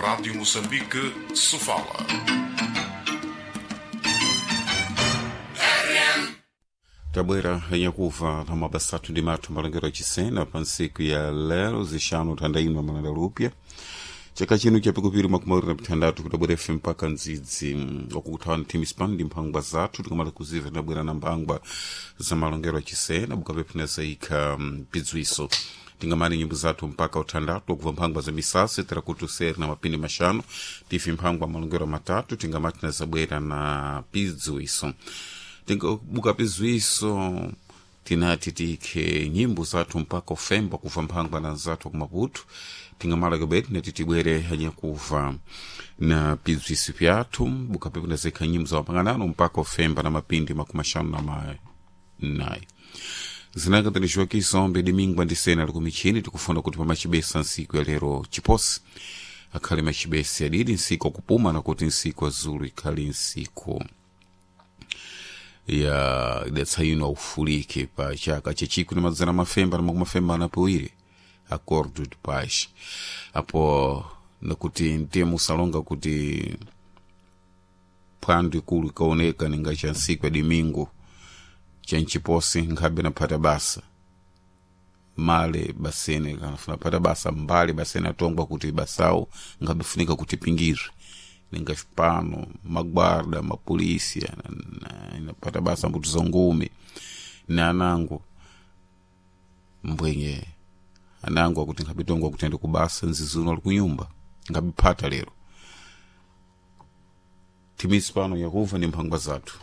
Rádio Moçambique, Sofala. Tabwera yanyakuva na mabasatu ndi mathu malengero achisena pa ntsiku ya lero zixanu thandaimwe malanda lupya chaka chino chapikupiri 26 kutabwera ife mpaka ndzidzi wakukuthawa thimispan ndi mphangwa zathu tikamala kuziva tinabwera na mphangwa za malongero achisena bukapepina zaikha pidzwiso tingamani nyimbo zathu mpaka uthandatu wakuva mphangwa za misasi tirakuti useri na mapindi maxanu tifi mphangwa malongero matatu tingamati nazabwera na pidzwiso tingabuka pizwiso tinati tikhe nyimbo zathu mpaka ufemba kuva mphangwa na zathu kumaputu tingamala kabeti nati tibwere hanyakuva na pizwiso pyathu bukapepo nazikha nyimbo za mapanganano mpaka ufemba na mapindi 58 zinakatanixiwa kisombe dimingwa ndi sena likumichini tikufuna kuti pamachibesa nsiku ya lero chiposi akhale machibesi adidi nsiku akupuma nakuti nsiku azulu ikhale nsiku ya idatsa ino aufulike pa chaka chechikwi na madzana mafemba na makumi mafemba na piwiri acordo de paz apo nakuti mtemo usalonga kuti phwando ikulu ikaoneka ninga cha nsiku ya domingo cha nchiposi nkhabe naphata basa male basene kanafuna phata basa mbali basene atongwa kuti basawo nkhabe funika kuti pingizwe ninga xipano magwarda mapolisi inapata basa mbuto za ngumi na anango mbwenye anango akuti nkhabitongwa kuti ende kubasa nzizuno ali kunyumba nkhabiphata lero timisi pano yakuva ni mphangwa zathu.